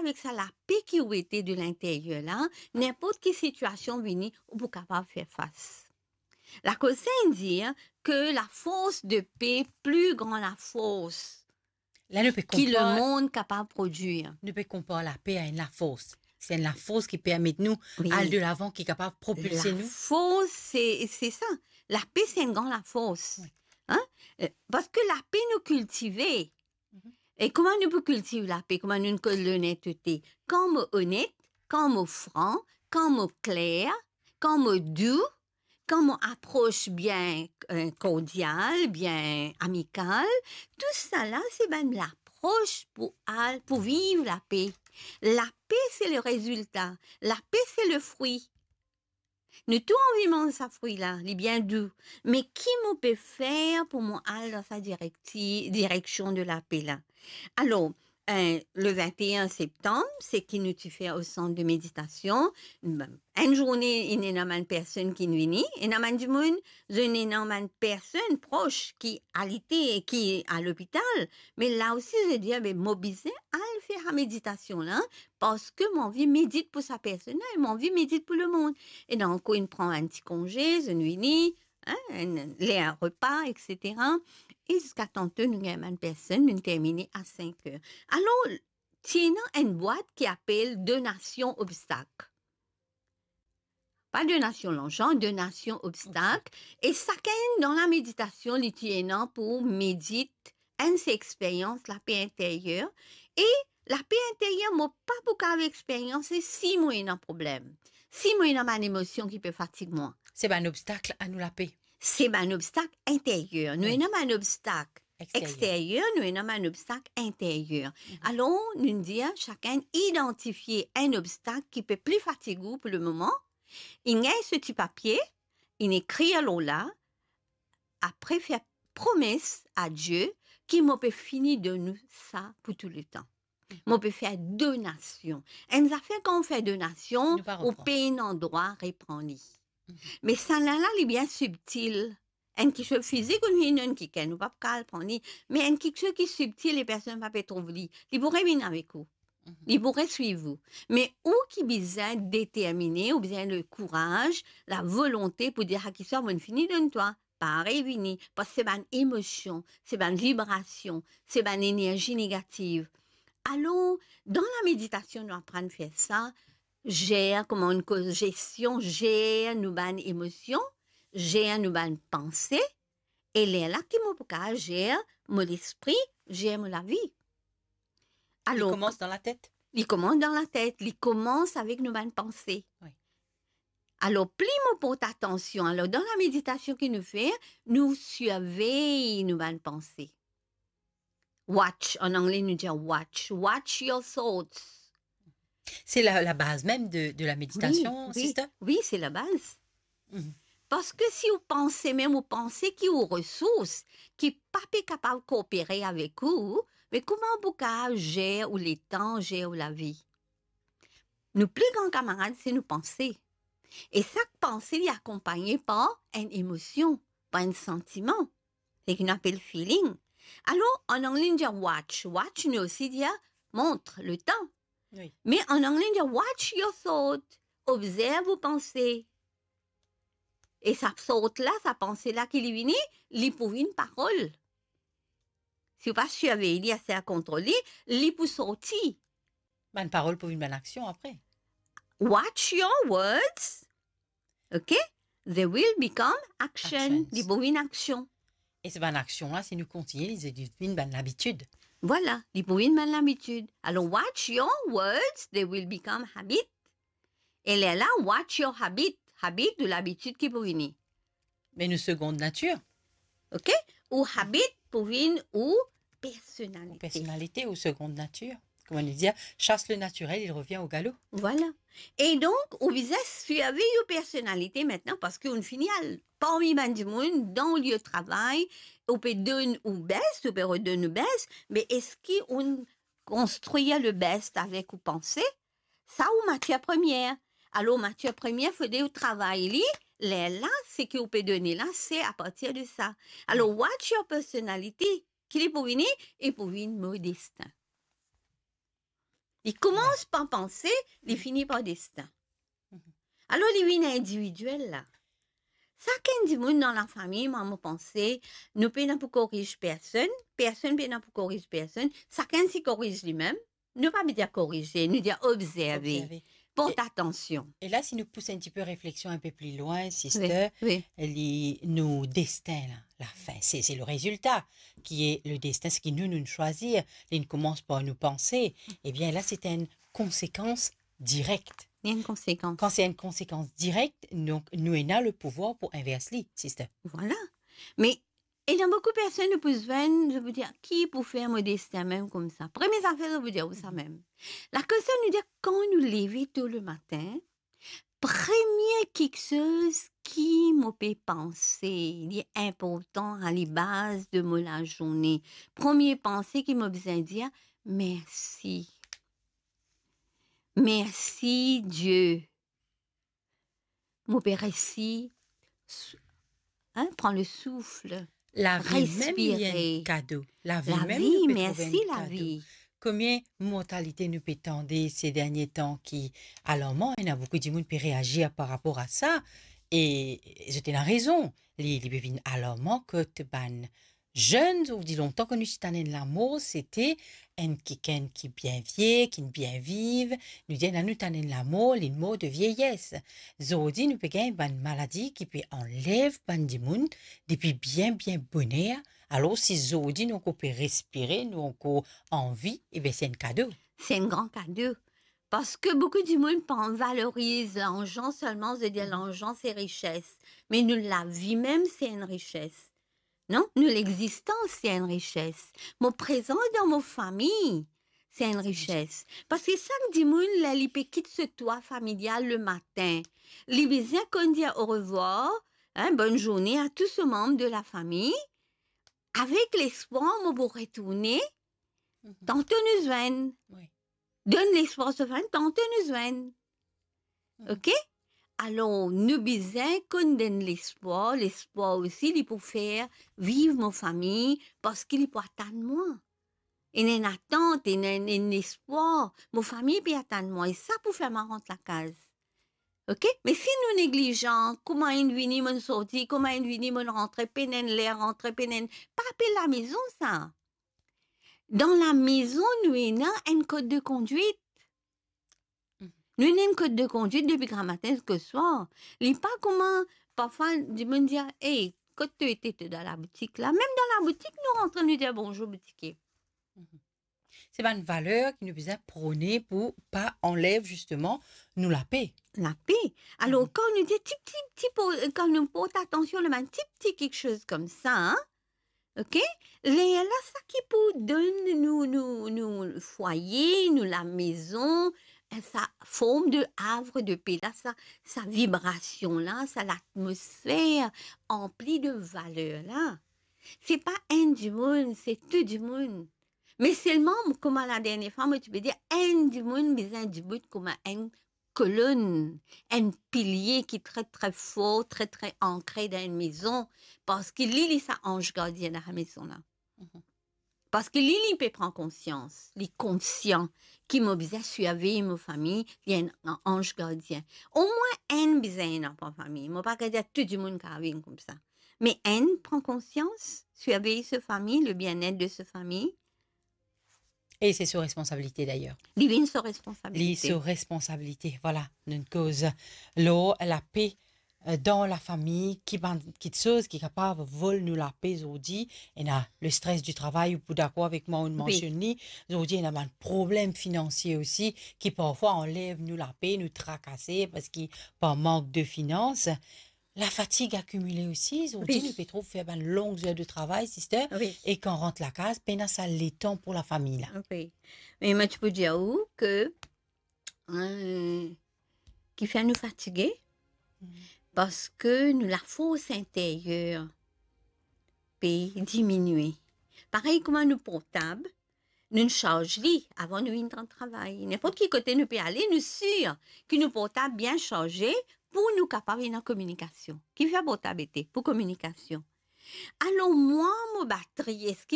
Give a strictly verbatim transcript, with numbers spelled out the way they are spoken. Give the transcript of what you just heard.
avek sa lape ki ou ete de linteryer la, ninport ki sitiasion vini, ou pou kapav fer fas. Lakoz Saint dir ke lafors de pe pli gran lafors La, nou pe ki konpar lemond kapav prodwir. Nou pe konpar lape a enn lafors. Se enn lafors ki permet nou Wi. al de lavan, ki kapav propilse nou. Lafors, se, se sa. Lape, se enn gran lafors. Wi. Hein? Euh, parski lape nou kiltive. Mhm. E kouma nou pou kiltiv lape? Kouma nou konn lonetete? Kan mo onet, kan mo fran, kan mo kler, kan mo dou, kan mo apros bien, euh, kordial, bien amikal, tousala se bann lapros pou al, pou viv lape. Lape se le rezilta, lape se le fri. Nou tou anvi manz sa fri la, li bien dou. Me ki mo pe fer pou mo al dan sa direkti-, direksion de lape la? Alor, euh, le vingt et un septanm, seki nou ti fer o sant de meditasion, enn zourne, inn ena bann personn ki vini, ena bann dimoun, zot ena bann personn pros ki alite, ki a lopital, me la osi, zot dir, "Be, mo bizin al fer sa meditasion la, parski mo anvi medit pou sa personn la, e mo anvi medit pou lemond." E donk, inn pran enn ti konze, zot vini, hein, enn, ler repa, et cetera. E ziska tanto nou gagn bann personn, nou termine a sink er. Alor, ti ena enn bwat ki apel donasion obstak. Pa donasion larzan, donasion obstak. Obstak. E sakenn dan lameditasion, li ti ena pou medit enn se experyans lape interyer. E lape interyer, mo pa pou kapav experyanse si mo ena problem, si mo ena bann emosion ki pe fatig mwa. Se bann obstak a nou lape. Se bann obstak interyer. Nou Wi. ena bann obstak Exteryer. exteryer, nou ena bann obstak interyer. Mhm. Alor, nou dir sakenn idantifie enn obstak ki pe pli fatig ou pou lemoman, inn gagn so ti papie, inn ekrir lor la, apre fer promes a Die ki mo pe fini donn ou sa pou tou letan. Mhm. Mo pe fer donasion. Enn zafer kan ou fer donasion, Nou pa ou repran. pena drwa repran li. Mhm. Me sa la, la, li bien sibtil. Enn kiksoz fizik, ou vinn donn kikenn, ou pa pou kapav pran li. Me enn kiksoz ki sibtil, e personn pa pe trouv li, li pou revinn avek ou. Mhm. Li pou reswiv ou. Me ou ki bizin determine, ou bizin lekouraz, lavolonte pou dir, "Ah, kiswa, mo'nn fini donn twa." Pa revini, parski se bann emosion, se bann vibrasion, se bann enerzi negativ. Alor, dan lameditasion, nou aprann fer sa, zer, kouma nou koz gestion, zer nou bann emosion, zer nou bann panse, e lerla ki mo pou kapav zer mo lespri, zer mo lavi. Li Alor, koumans dan latet. li koumans dan latet, li koumans avek nou bann panse. Wi. Alor, pli mo port atansion, alor, dan lameditasion ki nou fer, nou sirvey nou bann panse. Watch, an angle, nou dir watch. Watch your thoughts. Se la, la baz mem de, de lameditasion, Wi, wi, sister? wi, se labaz. Mhm. Parski si ou panse mem, ou panse ki ou resours, ki pa pe kapav koopere avek ou, me kouma ou pou kapav zer ou letan, zer ou lavi? Nou pli gran kamarad, se nou panse. E sak panse, li akonpagne par enn emosion, par enn santiman. Seki nou apel feeling. Alor, an angle, nou dir watch. Watch, nou osi dir montre, letan. Wi. Me an angle, nou dir watch your thought. Obzerv ou panse. E sa thought la, sa panse la ki li vini, li pou vinn parol. Si ou pa sirvey li, aster kontrol li, li pou sorti. Bann parol pou vinn bann aksion apre. Watch your words, ok? They will become action. Actions. Li pou vinn aksion. E se bann aksion la, si nou kontigne, li, li vinn bann labitid. Vwala, li pou vinn bann labitid. Alor, watch your words, they will become habit. E lerla, watch your habit. Habit, ou labitid ki pou vini. Me nou segond natir. Ok? Ou habit pou vinn ou personalite. Ou personalite, ou segond natir. Kouma nou dir, chasse le naturel, il revient au galop. Vwala. E donk, ou bizin sirvey ou personalite mintnan, parski ou fini al parmi bann dimoun, dan ou lie travay, ou pe donn ou best, ou pe redonn ou best, me eski ou konstrir le best avek ou panse? Sa ou matier premier. Alor, matier premier, fode ou travay li, lerla, seki ou pe done la, se apartir de sa. Alor, watch your personality, ki li pou vini, li pou vinn mo destin. Li koumans par panse, li fini par destin. Alor, li vinn individiel la. Sakenn dimoun dan lafami, mwa, mo panse, nou pena pou koriz personn, personn pena pou koriz personn, sakenn si koriz limem. Nou pa bizin korize, nou dir obzerve, obzerve. Port atansion. E la, si nou pous enn tipe refleksion enn pe pli lwin, sister, wi, wi, li, nou destin la, lafin, se, se le rezilta ki e le destin, seki nou, nou swazir, li koumans par nou panse. Ebien, la, se enn konsekans direk. Li enn konsekans. Kan se enn konsekans direk, donk nou ena le pouvwar pou invers li, sister. Vwala. Me ena boukou personn nou pou zwenn, zot pou dir, "Ki pou fer mo destin mem koumsa?" Premie zafer zot pou dir ou sa mem. Lakoz sa, nou dir, kan nou leve to le matin, premie kiksoz ki mo pe panse, li inportan, a la baz de mo lazourne. Premie panse ki mo bizin dir, "Mersi." Mersi, Die. Mo pe resi, sou-, hein, pran le souffle. Lavi mem, li enn kado. Respire. Lavi mem, nou pe trouv enn kado. Lavi, mersi lavi. Konbien mortalite nou pe tande se dernie tan ki alarman, ena boukou dimoun pe reazir par rapor a sa, e zot ena rezon. Li, li pe vinn alarman kot bann zenn, zordi, lontan kan nou ti tann enn lamor, sete enn kikenn ki bien vie, ki'nn bien viv, nou dir, ena nou tann enn lamor, li'nn mor de vieyes. Zordi, nou pe gagn bann maladi ki pe anlev bann dimoun depi bien, bien boner, alor si zordi nou ankor pe respire, nou ankor anvi, ebien, se enn kado. Se enn gran kado. Parski boukou dimoun pa valoriz larzan selman, zot dir larzan se rises. Me nou lavi mem se enn rises. Non, nou lexistans se enn rises. Mo prezans dan mo fami se enn rises. Parski sak dimoun, ler li pe kit so twa familial le matin, li bizin konn dir orevwar, hein, bonn zourne a tou so manb de lafami, avek lespwar mo pou retourne, mhm, tanto nou zwenn. Wi. Donn lespwar so fami, tanto nou zwenn. Hmm. Ok? Alor, nou bizin konn donn lespwar, lespwar osi li pou fer viv mo fami, parski li pou atann mwa. Ena enn atant, ena enn, enn lespwar, mo fami pe atann mwa, e sa pou fer mwa rant lakaz. Ok? Me si nou neglizan, kouma inn vini, mo'nn sorti, kouma inn vini, mo'nn rantre, pena enn ler rantre, pena enn, pa apel lamezon sa. Dan lamezon, nou ena enn kod de kondwit. Mhm. Nou ena enn kod de kondwit depi gramatin ziska swar. Li pa kouma, parfwa, dimoun dir, "Ey, kot to ete, to dan laboutik la?" Mem dan laboutik, nou rantre, nou dir, "Bonzour, boutikye." Mhm. Se bann valer ki nou bizin prone pou pa anlev, zisteman, nou lape. Lape. Alor, mhm, kan nou dir ti, ti, ti, pou, kan nou port atansion lor bann ti, ti kiksoz koumsa, hein, ok? Lerla, sa ki pou donn nou, nou, nou fwaye, nou lamezon, sa form de havre de paix la, sa, sa vibrasion la, sa latmosfer anpli de valer la. Se pa enn dimoun, se tou dimoun. Me selman, kouma ladernie fwa, mo ti pe dir, enn dimoun bizin dibout kouma enn kolonn, enn pilie ki tre, tre for, tre, tre ankre dan enn mezon, parski li, li sa anz gardien dan sa mezon la. Mhm. Parski li, li pe pran konsians, li konsian ki mo bizin sirvey mo fami, li enn anz gardien. Omwin enn bizin ena par fami. Mo pa kav dir tou dimoun kav vinn koumsa. Me enn pran konsians, sirvey so fami, le bien-être de so fami, E se so responsabilite, dayer. Li vinn so responsabilite. Li so responsabilite, vwala. Nou koz lor lape, eh, dan lafami, ki bann kiksoz ki kapav vol nou lape zordi. Ena le stress du travail, ou pou dakor avek mwa, ou mansionn li. Wi. Zordi, ena bann problem finansie osi, ki parfwa anlev nou lape, nou trakase, parski par mank de finans. Lafatig akimile osi, zordi, wi, nou pe trouv fer bann long zer de travay, sister, wi, e kan rant lakaz, pena sa letan pou lafami la. Wi. Me mo ti pou dir ou ke, eh, ki fer nou fatige, mm, parski nou lafors interyer pe diminie. Parey kouma nou portab, nou sarz li avan nou vinn travay. Ninport ki kote nou pe ale, nou sir ki nou portab bien sarze pou nou kapav ena kominikasion. Kifer portab ete? Pou kominikasion. Alor mwa, mo batri, eski